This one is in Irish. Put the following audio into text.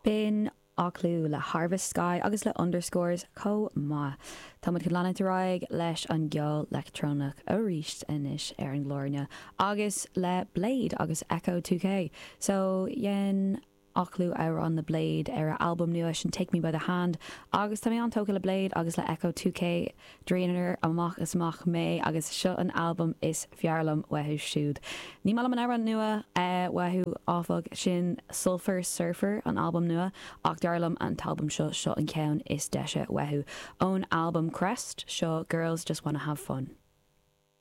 B'in Aclú le Harvest Sky agus le Underscores chomh maith. Tá muid chun leanúint ar aghaidh leis an gceol leictreonach arís anois ar an gclár inniu agus le Blade agus Ecco2k. So dhein Aclú amhrán le Blade ar a albam nua sin Take Me By The Hand agus tá mé an-tógtha le Blade agus le Ecco2k. Dreamer amach is amach mé agus seo an albam is fearr liom uathu siúd. Ní maith liom an amhrán nua uathu áfach, sin Sulphur Surfer an albam nua ach dar liom an t-albam seo, seo an ceann is deise uathu. Ón albam Crest, seo Girls Just Wanna Have Fun.